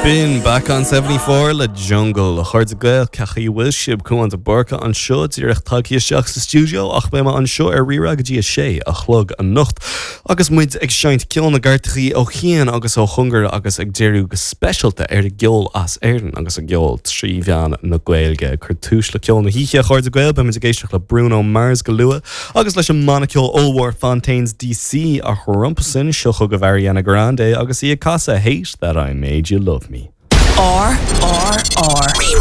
B'in Back on 74 le Jungle. A chairde Gael, cén chaoi a bhfuil sibh? Cúán de Búrca anseo, díreach tagtha isteach sa stiúideo ach beidh mé anseo ar Rí-Rá go dtí a sé a chlog anocht agus muid ag seinnt ceol na gcairteachaí ó chian agus ó chóngar agus ag díriú go speisialta ar an gceol as Éirinn agus an gceol trí mheán na Gaeilge. Ag cur túis le ceol na hoíche, a chairde Gael, beidh muid ag éisteacht le Bruno Mars go luath agus leis an mbanna ceoil ollmhór Fontaines DC ach rompu sin, seo chugaibh Ariana Grande agus í ag casadh Hate That I Made You Love Me. R R R. Rí-Rá.